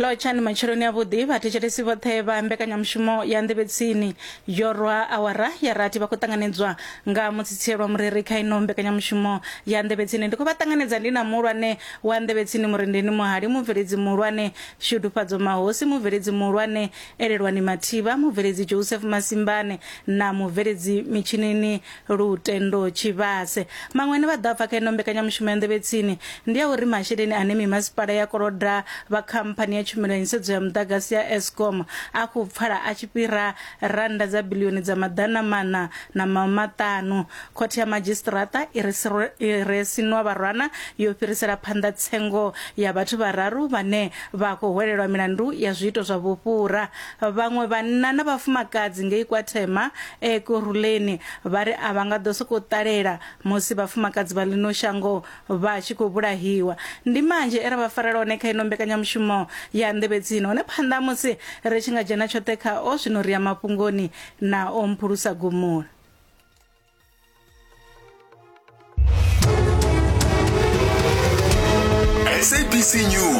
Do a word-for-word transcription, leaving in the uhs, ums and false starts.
Lotshani matsheloni avhuḓi vhathetshelesi vhoṱhe vha mbekanyamushumo ya nḓevhetsini yo rwa awara ya rathi vha khou ṱanganedzwa nga mutsitselwa mureri kha ino mbekanyamushumo ya nḓevhetsini. Ndi khou vha ṱanganedza ndi na muhulwane wa nḓevhetsini Murendeni Muhali, mubveledzi muhulwane Shudufhadzo Mahosi, mubveledzi muhulwane Elelwani Mathivha, mubveledzi Joseph Masimbane na mubveledzi mitshinini Lutendo Tshivhase. Maṅwe ane vha ḓo pfa kha ino mbekanyamushumo ya nḓevhetsini ndi a uri masheleni ane mimasipala ya koloda vha khamphani ya tshumelo ya nyisedzo ya muḓagasi ya Eskom a khou pfala a tshi fhira rannda dza biḽioni dza maḓana maṋa na maṱanu. Khothe ya madzhisiṱiraṱa i re Sinwabarwana yo fhirisela phanḓa tsengo ya vhathu vhararu vhane vha khou hwelelwa milandu ya zwiito zwa vhufhura. Vhaṅwe vhanna na vhafumakadzi ngei KwaThema Ekurhuleni vha ri a vha nga ḓo sokou ṱalela musi vhafumakadzi vha ḽino shango vha tshi khou vhulahiwa. Ndi manzhi e ra vha farela hone kha ino mbekanyamushumo ya nḓevhetsini. Hone phanḓa musi ri tshi nga dzhena tshoṱhe khao, zwino ri ya mafhungoni na o Mphulusa Gumula. S A B C News.